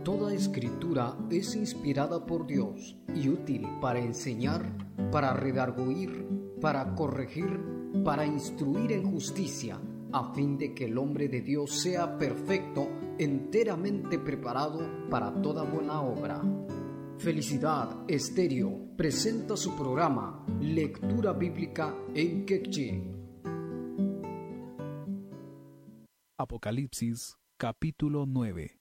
Toda escritura es inspirada por Dios y útil para enseñar, para redarguir, para corregir, para instruir en justicia, a fin de que el hombre de Dios sea perfecto, enteramente preparado para toda buena obra. Felicidad Estéreo presenta su programa Lectura Bíblica en Quechí. Apocalipsis capítulo 9.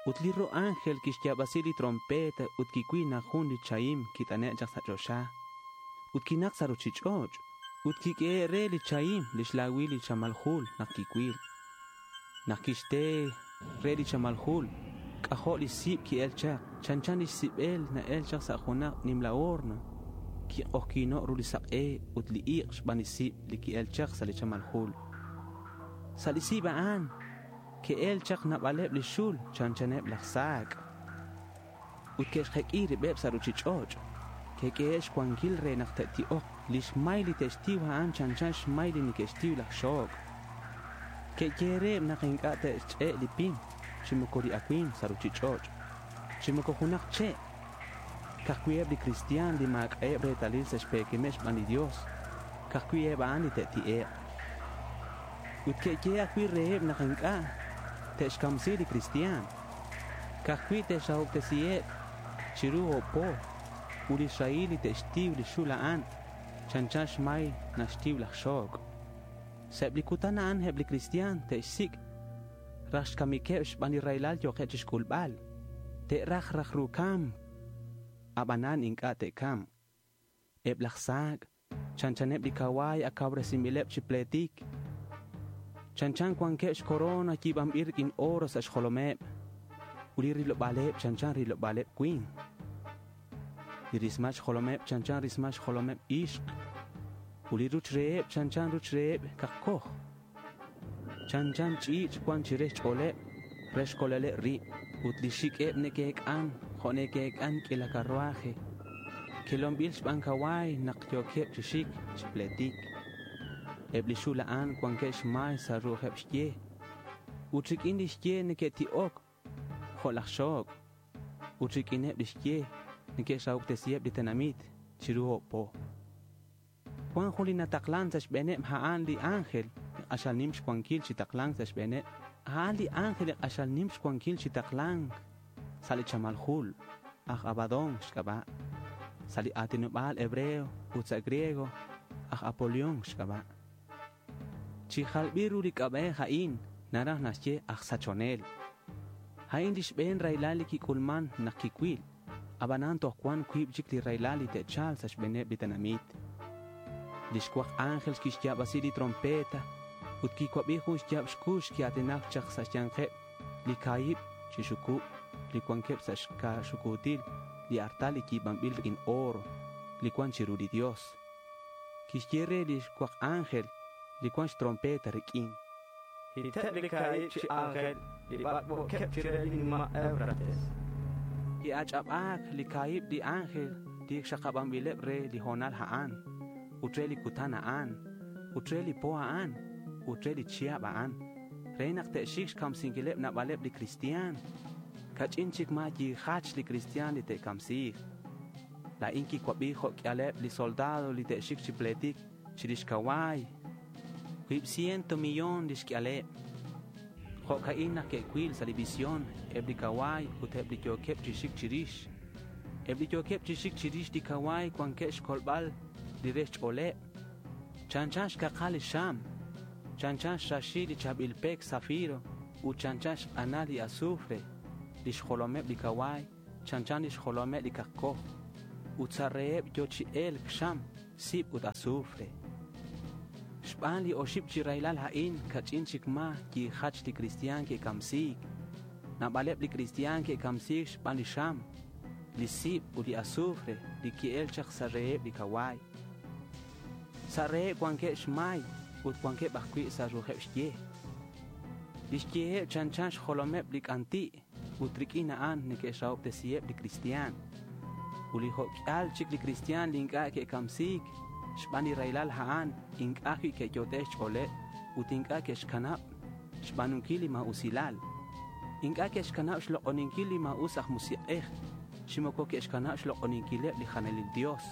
Ut li ro ángel kixyaab'asi li trompeta ut kiwil naq jun li chahim kit'ane' chaq sa' choxa ut kinaq sa' ruchich'och' ut kik'ehe' re li chahim lix lawil li chamal jul naq kiwil. Naq kixte re li chamal jul, k'ajo' li sib' ki'el chaq, chanchan lix sib'el na'el chaq sa' junaq nimla horno. Kiq'ojkino' ru li saq'e ut li iq' xb'aan li sib' li ki'el chaq sa' li chamal jul. Sa' li sib' a'an ke'el chaq naab'aleb' li xul chanchaneb' laj saak' ut ke'xjek'i rib'eb' sa' ruchich'och'. Ke'k'ehe' xwankil re naq te'ti'oq. Lix may li te'xtiw a'an chanchan xmay li neke'xtiw laj xook'. Ke'yehe' naq ink'a' te'xch'e' li pim chi moko li awimq sa' ruchich'och', chi moko junaq che'. Ka'ajwi' eb' li kristiaan li maak'a'eb' reetalil sa' xpeekemeb' xb'aan li Dios, ka'ajwi' eb' a'an li te'ti'e'q. Ut ke'yehe' ajwi' reheb' naq ink'a' te'xkamsi li kristiaan. Ka'ajwi' te'xrahob'tesiheb' chiru oob' po ut li xrahil li te'xtiw li xul a'an chanchan xmay naxtiw laj xook'. Sa' eb' li kutan a'an eb' li kristiaan te'xsik' raj xkamikeb' xb'aan li rahilal yookeb' chixk'ulb'al. Te'raj raj ru kamk, ab'anan ink'a' te'kamq. Eb' laj saak' chanchaneb' li kawaay akawresinb'ileb' chi pleetik. Chanchan cuanqueb xcorona yi̱banbil riq'uin oro sa' xjolomeb ut li rilob'aleb chanchan rilob'aleb cui̱nk. Li rismal xjolomeb chanchan rismal xjolomeb ixk ut li ruch reheb chanchan ruch reheb kakoj. Chanchan ch'i̱ch' cuan chire xch'o̱leb re xcoleleb rib ut li xiq'ueb neque'ec'an jo' neque'ec'an q'uila carruaje. Quelonbil xban cacua̱y nak yo̱queb chi xic chi pletic. Eb li xul a'an cuanqueb xmay sa' ru'ujeb xye. Ut riq'uin lix ye neque'ti'oc jo' laj xoc'. Ut riq'uineb lix ye neque'xrahob'tesiheb li tenamit chiru oob' po. Cuan jun li nataklan sa' xbe̱neb a'an li ángel li k'axal nim xcuanquil chi taklanc sa' xbe̱neb. A'an li ángel li k'axal nim xcuanquil chi taklanc sa' li chamal jul, aj Abadón xc'aba'. Sa' li a̱tinobal hebreo ut sa' griego, aj Apolión xc'aba'. Chi jalbil ru li k'ab'ej a'in naraj naxye aj sachonel. A'in li xbe̱n raylal li kik'ulman nak kicuil. Abanan toj cuan cuib chic li raylal li te'chal sa' xbe̱neb li tenamit. Li xcuak ángel quixyaabasi li trompeta ut quicuabi jun xyaab xcux quia̱tinac chak sa' xya̱nkeb li ca̱hib chi xucub li cuanqueb sa' xcaxucutil li artal li yi̱banbil riq'uin oro li cuan chiru li Dios. Quixye re li xcuak ángel li cuan xtrompeta riq'uin. Hiteb li ca̱hib chi ángel li bacboqueb chire li nima' Éufrates. Qui'ach'aba̱c li ca̱hib li ángel li xakabanbileb re li honal a'an, ut re li cutan a'an, ut re li po a'an, ut re li chihab a'an, re nak te'xic xcamsinquileb nabaleb li cristian. Cach'in chic ma yijach li cristian li te'camsiik. La̱in quicuabi jo' q'uialeb li soldado li te'xic chi pletic chirix cacua̱y. Cuib ciento millón lix q'uialeb. Jo'ca'in nak que'cuil sa' li visión eb li cacua̱y ut eb li yo̱queb chi xic chirix. Eb li yo̱queb chi xic chirix li cacua̱y cuanqueb xcolbal li re xch'o̱leb. Chanchan xcakal li xam, chanchan xraxil li cha̱bil pec zafiro ut chanchan xk'anal li azufre. Lix jolomeb li cacua̱y, chanchan lix jolomeb li cakcoj. Ut sa' reheb yo chi elk xam, sib ut azufre. Xb'aan li oxib chi raylal a'in kach'in chic ma yijach li cristian ke'kamsiik. Naab'aleb li cristian ke'kamsiik xb'aan li xam, li sib ut li azufre li ki'el chaq sa' reheb li kawaay. Sa' reheb cuanqueb xmay ut cuanqueb ajwi' sa' ru'ujeb xye. Lix yeheb chanchan xjolomeb li k'anti' ut riq'uin a'an neque'xrahob'tesiheb li cristian. Ut li jo'k'al chic li cristian li ink'a' ke'kamsiik xb'aan li raylal a'an ink'a' ajwi' ke'yot'e xch'ooleb ut ink'a' ke'xkanab' xb'aanunkil li maa'usilal. Ink'a' ke'xkanab' xloq'oninkil li maa'us aj musiq'ej, chi moko ke'xkanab' xloq'oninkileb' li janelil Dios,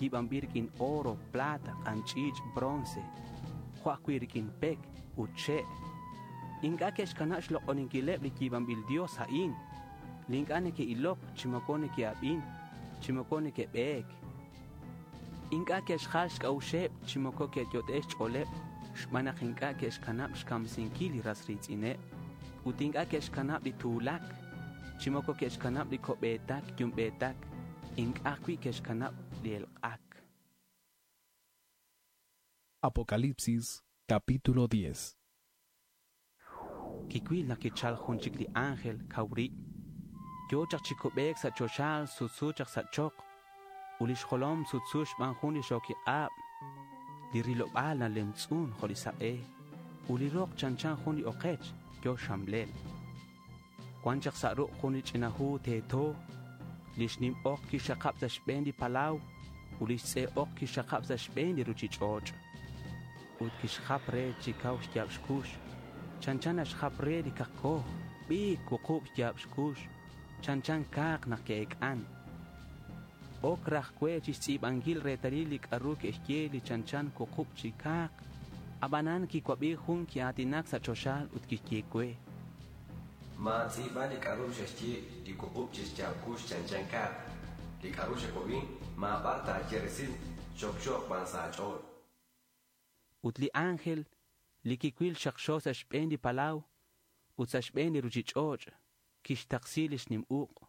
yiib'anb'il rik'in oro, plata, q'anch'iich', bronce, jo' ajwi' rik'in pek ut che'. Ink'a' ke'xkanab' xloq'oninkileb' li yiib'anb'il Dios a'in, li ink'a' neke'ilok, chi moko neke'ab'in, chi moko neke'b'eek. Ink'a' ke'xjal xk'a'uxeb' chi moko ke'yot'e xch'ooleb' xb'aan naq ink'a' ke'xkanab' xkamsinkil li ras riitz'ineb' ut ink'a' ke'xkanab' li tuulak, chi moko ke'xkanab' li ko'b'eetak yumb'eetak, ink'a' ajwi' ke'xkanab' li elq'ak. Apocalipsis capítulo 10. Kiwil naq kichal jun chik li ángel kaw rib'. Yo chaq chi kub'eek sa' choxaal sutsu chaq sa' choq. Ut lix jolom sutsu xb'aan jun li xokiq'aab'. Li rilob'aal nalemtz'un jo' li saq'e. Ut li roq chanchan jun li oqech yo xamlel. Wan chaq sa' ruq' jun li ch'ina hu teeto. Lix nim oq kixxaqab' sa' xb'een li palaw ut lix tz'e oq kixxaqab' sa' xb'een li ruchich'och'. Ut kixjap re chi kaw xyaab' xkux. Chanchan naxjap re li kaqkoj, b'iik wuqub' xyaab' xkux, chanchan kaaq naq ke'ek'an. Ok raj we chixtz'iib'ankil reetalil li k'a'ru ke'xye li chanchan wuqub' chi kaaq. Ab'anan kiwab'i jun ki'aatinak sa' choxaal ut kixye we. Maatz'iib'a li k'a'ru xe'xye li wuqub' chi xyaab' kux chanchan kaaq. Li k'a'ru xewab'i maab'ar taaye resil, xokxoq b'an sa' aach'ool. Ut li ángel li kiwil xaqxo sa' xb'een li palaw ut sa' xb'een li ruchich'och' kixtaqsi lix nim uq'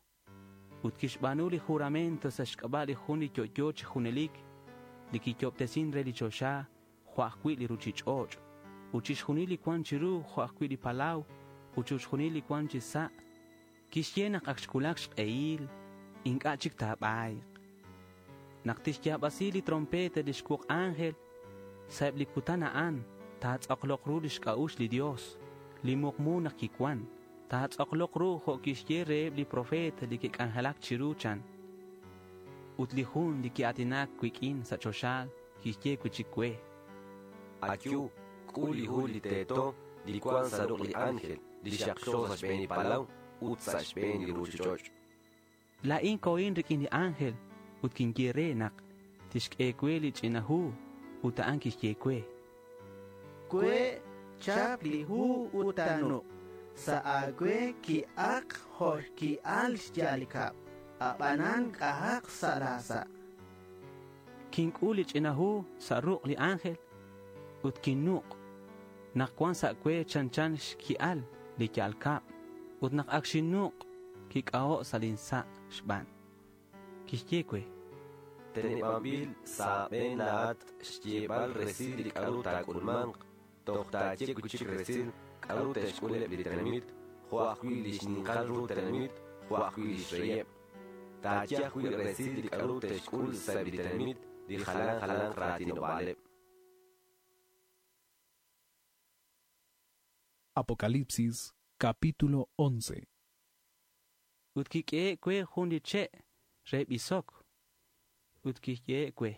ut kixb'aanu li juramento sa' xk'ab'a' li jun li yo'yo chi junelik li kiyob'tesin re li choxa jo' ajwi' li ruchich'och' ut chixjunil li wan chiru jo' ajwi' li palaw ut chixjunil li wan chi sa'. Kixye naq ak xwulak xq'ehil ink'a' chik taab'ayq. Naq tixyaab'asi li trompeta lix wuq ángel sa'eb' li kutan a'an taatz'aqloq ru lix k'a'uxl li Dios, li muqmu naq kiwan, taatz'aqloq ru jo' kixye reheb' li profeta li ke'k'anjelak chiru chan. Ut li jun li ki'aatinak wik'in sa' choxaal kixye wi'chik we. Ayu, k'ul li hu li teeto li wan sa' ruq' li ángel li xaqxo sa' xb'een li palaw ut sa' xb'een li ruchich'och'. Laa'in kohin rik'in li ángel ut kinye re naq tixk'e we li ch'ina hu ut a'an kixye we. We chap li hu ut tanuq' sa' aawe ki'aq jo' ki'al xya'al li kab', ab'anan k'ajaq sa' laasa'. Kink'ul li ch'ina hu sa' ruq' li ángel ut kinnuq' naq wan sa' we chanchan xki'al li ya'al kab' ut naq ak xinnuq' kik'aho' sa' lin sa' xb'aan. Kixye we. Teneb'anb'il sa' b'een laa'at xyeeb'al resil li k'a'ru taak'ulmanq, toj taaye wi'chik resil k'a'ru te'xk'uleb' li tenamit, jo' ajwi' li xninqal ru tenamit, jo' ajwi' li xreyeb'. Taaye ajwi' resil li k'a'ru te'xk'ul sa'eb' li tenamit li jalan jalanq raatinob'aaleb'. Apocalipsis capítulo 11. Ut kik'ehe' we jun li che' re b'isok. Ut kixye we.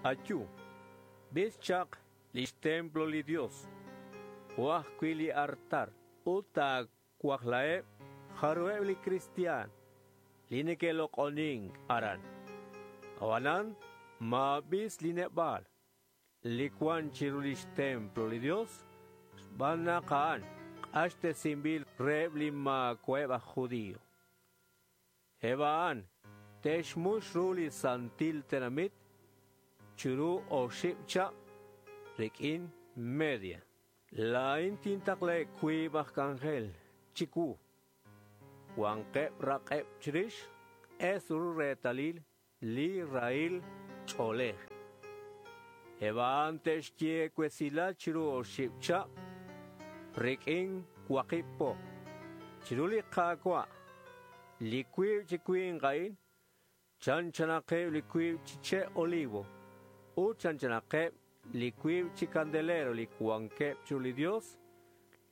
Ayu, bis chaq lix templo li Dios, jo' ajwi' li artar, ut taawajlaheb' jaruheb' li kristiaan li neke'loq'onink aran. Ab'anan maab'is li neb'aal li wan chiru lix templo li Dios, xb'aan naq a'an q'axtesinb'il reheb' li maawa'eb' aj judío. Eb' a'an te'xmux ru li santil tenamit chiru oxib' chab' rik'in media. Laa'in tintaqle wiib' aj k'anjel chiwu. Wanqeb' raq'eb' chirix q'es ru reetalil li rahil ch'oolej. Eb' a'an te'xye wesilal chiru oxib' chab' rik'in waqib' po. Chiru li Qaawa' li wiib' chi winq a'in chanchanaqeb' li wiib' chi che' olivo ut chanchanaqeb' li wiib' chi candelero li wankeb' chiru li Dios,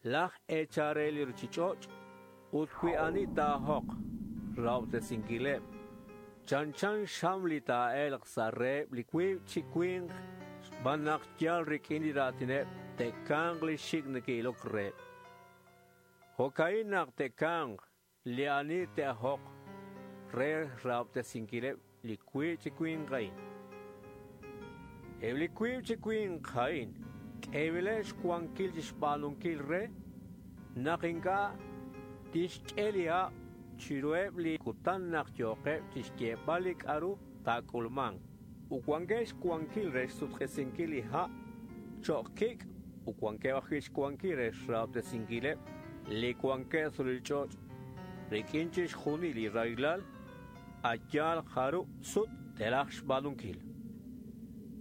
laj eechal re li ruchich'och' ut wi ani taahoq rahob'tesinkileb'. Chanchan xam li taa'elq sa' reheb' li wiib' chi winq xb'aan naq yal rik'in li raatineb' te'kanq li xik' neke'ilok reheb'. Jo'ka'in naq te'kanq li ani te'ajoq re rahob'tesinkileb' li wiib' chi winq a'in. Eb' li wiib' chi winq a'in k'eeb'ileb' xwankil chixb'aanunkil re naq ink'a' tixk'e li ha' chiruheb' li kutan naq yooqeb' chixyeeb'al li k'a'ru taak'ulmanq. Ut wankeb' xwankil re xsutq'isinkil li ha' cho'q kik' ut wankeb' ajwi' xwankil re xrahob'tesinkileb' li wankeb' sa' li ch'och' rik'in chixjunil li rahilal a' yaal jarub' sut te'raj xb'aanunkil.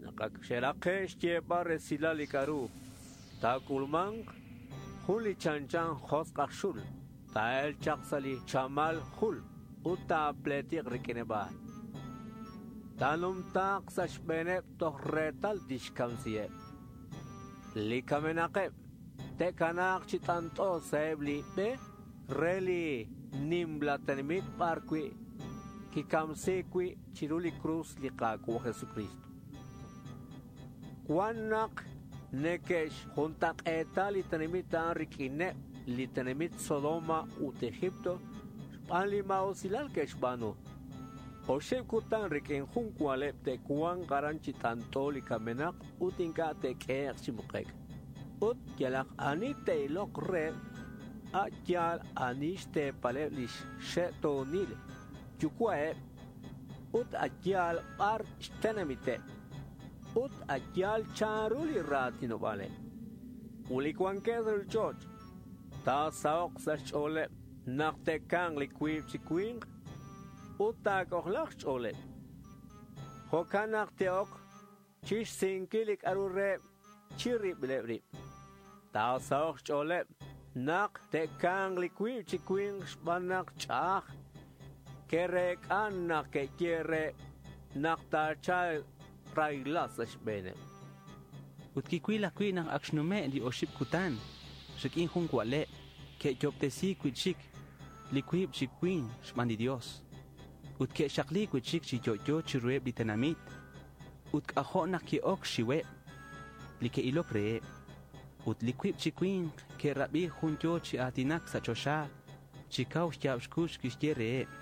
Naq ak xe'raqe' xyeeb'al resilal li k'a'ru taak'ulmanq, jun li chanchan josq' aj xul taa'elq chaq sa' li chamal jul ut taapleetiq rik'ineb' a'an. Taanumtaaq sa' xb'eeneb' toj reetal tixkamsiheb'. Li kamenaqeb' te'kanaaq chi t'ant'o sa'eb' li b'e re li nimla tenamit b'ar wi' kikamsiik wi' chiru li krus li Qaawa' Jesucristo. Wan naq neke'xjuntaq'eeta li tenamit a'an rik'ineb' li tenamit Sodoma ut Egipto xb'aan li maa'usilal ke'xb'aanu. Oxib' kutan rik'in jun wa'leb' te'wanq aran chi t'ant'o li kamenaq ut ink'a' te'k'ehe'q chi muqek'. Ut yalaq ani te'iloq reheb' a' yaal ani xteepaleb' lix xe'toonil yuwa'eb' ut a' yaal b'ar xtenamiteb' ut a' yaal chanru li raatinob'aaleb'. Ut li wankeb' sa' li ch'och' taasaho'q sa' xch'ooleb' naq te'kanq li wiib' chi winq ut taak'ojlaaq xch'ooleb'. Jo'kan naq te'ok chixsinkil li k'a'ru reheb' chirib'ileb' rib'. Taasaho'q xch'ooleb' naq te'kanq li wiib' chi winq xb'aan naq ch'a'aj ke'reek'a naq ke'ye reheb' naq taachalq rahilal sa' xb'eeneb'. Ut kiwil ajwi' naq ak xnume' li oxib' kutan rik'in jun wa'leb' ke'yo'ob'tesiik wi'chik li wiib' chi winq xb'aan li Dios. Ut ke'xaqli wi'chik chi yo'yo chiruheb' li tenamit. Ut k'ajo' naq ke'ok xxiweb' li ke'ilok reheb'. Ut li wiib' chi winq ke'rab'i jun yo chi aatinak sa' choxa chi kaw xyaab' xkux kixye reheb'.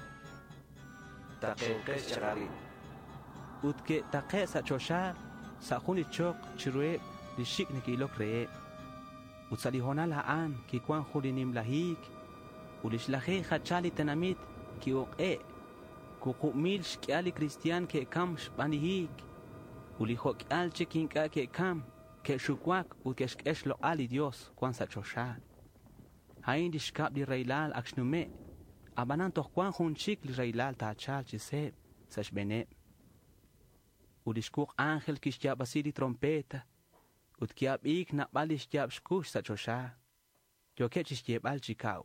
Taqenqex chaq arin. Ut ke'taqe' sa' choxa sa' jun li choq chiruheb' li xik' neke'ilok reheb'. Ut sa' li hoonal a'an kiwan jun li nimla hiik ut li xlaje'k jachal li tenamit ki'uq'e'. 5,000 xk'ihal li kristiaan ke'kam xb'aan li hiik. Ut li jo'k'ihal chik ink'a' ke'kam, ke'xuwak ut ke'xk'e xloq'al li Dios wan sa' choxa. A'in li xkab' li rahilal ak xnume', ab'anan toj wan jun chik li rahilal taachalq chi seeb' sa' xb'eeneb'. Ut li xwuq ángel kixyaab'asi li trompeta ut ki'ab'iik naab'al li xyaab' xkux sa' choxa. Yookeb' chixyeeb'al chi kaw.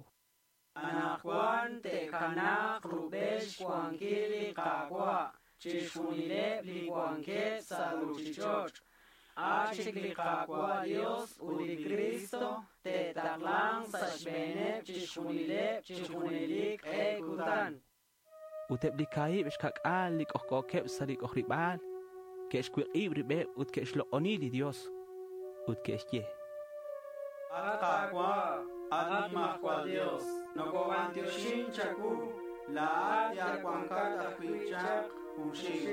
Anaqwan te'kanaaq rub'el xwankil li Qaawa' chixjunileb' li wankeb' sa' ruuchich'och'. A' chik li Qaawa' Dios ut li Cristo te'taqlanq sa' xb'eeneb' chixjunileb' chi junelik q'e kutan. Ut eb' li kaahib' xka'k'aal li k'ojk'ookeb' sa' li k'ojrib'aal ke'xwiq'ib' rib'eb' ut ke'xloq'oni li Dios ut ke'xye. At Qaawa', at Nimajwal Dios, nokob'antioxin chawu, laa'at yal wankat ajwi' chaq junxil.